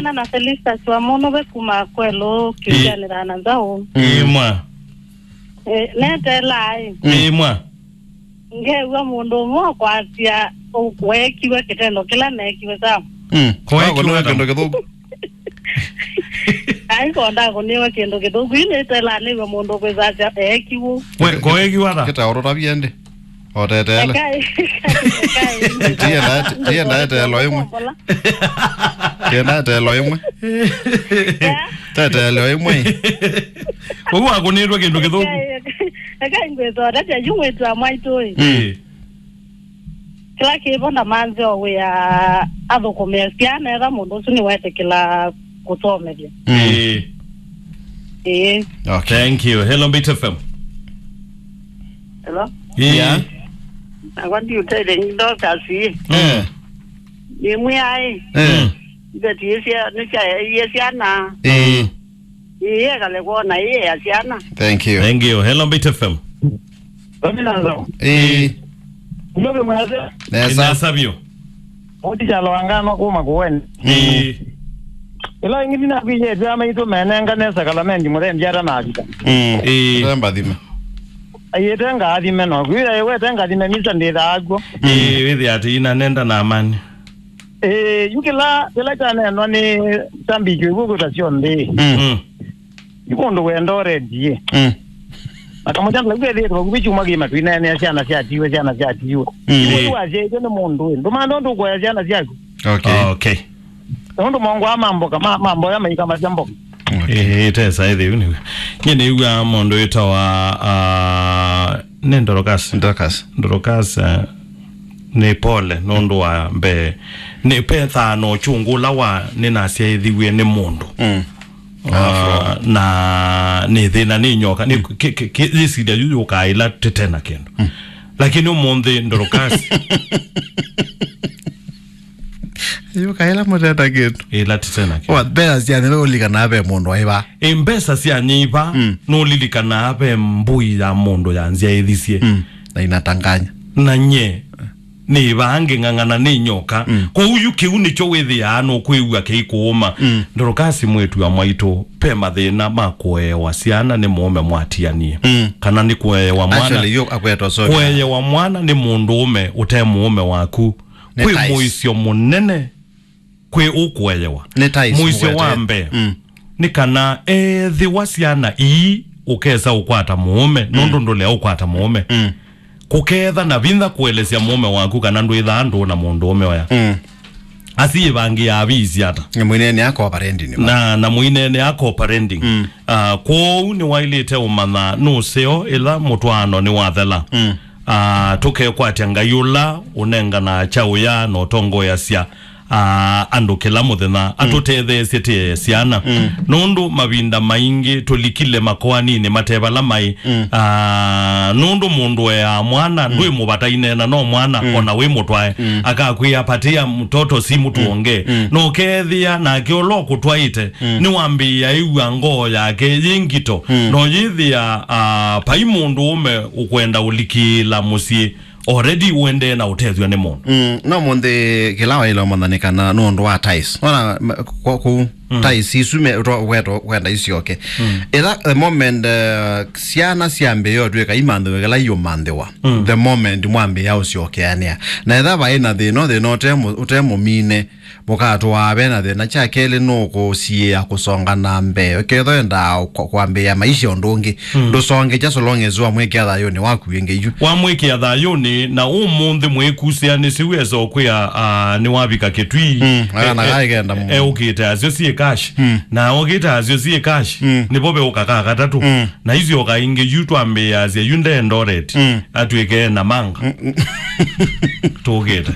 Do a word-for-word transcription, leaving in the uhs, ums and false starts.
Na, na Felista Swamono ve kuma kwelo kĩũkyanĩra na nzaũ. Ĩmwa. Eh, netelaa ĩ. Ĩmwa. Ngew'a mũndũ ũmwe ũkwasya weekiwe kĩtendo kĩla neekiwe sawa. Mm. Koekiwe kĩndũ kĩthũku. Ai, konda kũniwe kĩndũ kĩthũku. Yu nĩtelaa nĩw'e mũndũ kwĩsasya eekiwe. We, koekiwe ata? Kĩtaũrũtavie ndĩ. Otetele. Ekai, ekai, ekai. Tienda, tienda etelo ĩmwe. Tienda etelo ĩmwe. Yeah. Tetelo ĩmwe. Ũu akũnĩtwe kĩndũ kĩthũku. Ekai, ekai ngwĩsota, tya yu mwĩtu wa mwaitũ ĩ. Mm. Kĩla kĩvo ndamanzeo wĩa athũkũmĩe syana etha mũndũ ũsu nĩwetĩkĩla kũsomethya. Mm. Ĩĩ. Ĩĩ. Okay. Thank you. Hello, Mbit F M. Hello? Ĩĩ. Yeah. Nakwa ndiũtele nyi Dorcas ĩ. Eh. Nĩmwĩaĩ. Eh. Mm. Mbetiĩsya nĩsyaeie syana. Eh. Ĩĩ, ekale kwona ĩĩ ya syana. Thank you. Thank you. Hello, Mbit F M. Dominanzo. Eh. Ndobe mwese. Nesa. Nesa vyũ. Oti kyalo angano kuma kuweni. Ĩĩ. Ĩla ĩngĩ ndinakwĩyĩtwe amaitũ menenga nesa kalamenti mũthembi ata mavika. Mm. Ĩĩ. Nde mbathime. Ayĩte ngathime no. Kwĩra ĩwete ngathime misa ndĩthaa kw'o. Ĩĩ, wĩthĩa atĩ ina nenda na amani. Ĩĩ, yu kĩla, kĩla kyaneenwa nĩ sambiki ĩw'o kwĩta syonthe. Mm. Mm. Yu mũndũ wenda ũrendie. Mm. Makamũchandala kwethĩĩtwe vakuvĩ kyumwa kĩima twineenea syana syatiwe, syana syatiwe. Mm. Yu wasyaĩtwe nĩ mũndũ ĩ. Ndũmantha ũndũ ũkũoya syana syaku. Okay. Okay. Nũndũ mongwa ma mboka, ma, ma mboya maikamasya mboka. Okay. Ĩĩ, tesa ĩthĩu nĩw'o. Nyie nĩw'a mũndũ wĩtawa, ah, nĩ Ndorokasi. Ndorokasi. Ndorokasi, ah, nĩ pole nũndũ wa mbee. Nĩ pethaa na ũkyũngũ ũla wa nĩnasyaĩthiw'e nĩ mũndũ. Mm. Ah, na nĩ thĩna nĩ nyoka. Nĩ kĩ-, kĩ-, kĩ-, yĩsilya yu yũkaa ĩla tĩte na kĩndũ. Mm. Lakini ũmũnthĩ Ndorokasi. Yu kaĩla mũteta kĩndũ. Ĩla ti tena kĩndũ. Wa, mbesa sya nyĩva ũlikanaa ve mũndũ aiva. Ĩ, mbesa sya nyĩva, mm, nũlilikanaa ve mbũi ya mũndũ ya nzyaĩthisye. Mm. Na inatanganya. Na nye, nĩ ĩvaa ngĩng'ang'ana nĩ nyoka. Mm. Kwoou yu kĩu nĩkyo wĩthĩaa nũkwĩw'a kĩikũũma. Mm. Ndorokasi mwĩĩtu wa mwaitũ, ve mathĩna ma kũeewa syana nĩ mũũme mwatianie. Mm. Kana nĩ kũeewa mwana. Actually, yu akwetwa sorry. Kũeewa mwana nĩ mũndũũme ũte mũũme waku. Nĩ kwĩ ties. Mũisyo mũnene kwĩ ũkũeewa. Nĩ ties mũisyo wa mũkwetee. Mbee, mm, nĩ kana ethĩwa syana ii ũkesa ũkwata mũũme, mm, nũndũ ndũlea ũkwata mũũme. Mm. Kũkeetha na vinya kũelesya mũũme waku kana ndwĩthaa ndũ na mũndũũme oya. Mm. Asi ĩvangĩaa viisi ata? Na mũineenea co-parenting. Na, na mũineenea co-parenting. Mm. Ah, kwoou nĩwaĩlĩte ũmanya nũseo ĩla mũtwaano nĩwathela. Mm. Ah, tũkekwatya Ngai ũla ũnenganaa kyaũya na ũtongoeasya, ah, andũ kĩla mũthenya, mm, atũtetheesye tĩee syana. Mm. Nũndũ mavinda maingĩ tũlikile makoaninĩ mate vala maĩ. Mm. Ah, nũndũ mũndũ eaa mwana, mm, ndwĩ mũvata ineena no mwana, mm, ona wĩ mũtwae. Mm. Akakwĩa, "Patia mtoto simu tuongee." Mm. Na ũkeethĩa nake ũla ũkũtwaĩte, mm, nĩwambĩĩa ĩw'a ngoo yake yĩ ngito. Mm. No yĩthĩa, ah, vai mũndũũme ũkwenda ũlikĩĩla mũsyĩ, already ũendee na ũtethw'a nĩ mũndũ. Mm, no mũnthĩ kĩla waĩle ũmanya nĩ kana nũndũ wa ties. Nona, m-, kwa kũu, mm, ties isu me, ũto-, weto, wenda isyoke. Mm. Ĩla the moment, uh, syana syambĩĩa ũtw'ĩka imanthĩwe kĩla iũmanthĩwa, mm, the moment mwambĩĩa ũsyokeanĩa. Na ĩla vaĩ na thĩna, thĩna ũte mũ-, ũte mũmine, mũkatũaa ve na thĩna. Kya kelĩ, nũkũsiĩĩa kũsonga na mbee. Ũkethwa endaa kwa-, kwambĩĩa maisha ũndũ ũngĩ, mm, ndũsongekya so long as wamwĩkĩa thayũnĩ waku ĩngĩ yu. Wamwĩkĩa thayũnĩ, na ũmũnthĩ mwĩkusĩanĩsye wesa ũkwĩa, ah, nĩwavika kĩtwii. Mm, e-, ana e-, kaikenda mũno. Eũkĩte asyo syĩ cash. Mm. Na okĩte asyo syĩ cash, mm, nĩvo veũka ka katatũ. Mm. Na isyoka ingĩ yu twambĩĩasya yu nde Eldoret, mm, atw'ĩke na manga. Mm, mm. Tũkĩte.